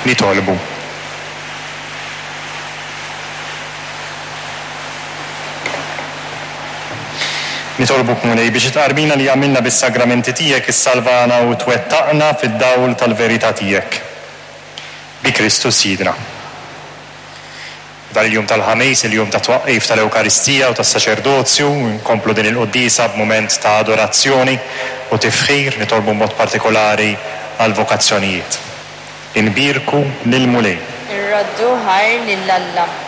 Nitolbu. Nitolbuk, Mulej, biex it-tqarbina li għamilna bis-sagramenti tiegħek issalvana u twettaqna fid-dawl tal-verità tiegħek. Bi Kristu Sidna. F'dan il-jum tal-Ħamis, il-jum tat-twaqqif tal-Ewkaristija u tas-Saċerdozju, nkomplu din il-quddiesa b'mument ta' adorazzjoni u tifħir, nitolbu b'mod partikolari għall-vokazzjonijiet. Inbierku lill-Mulej. Irroddu ħajr lil Alla.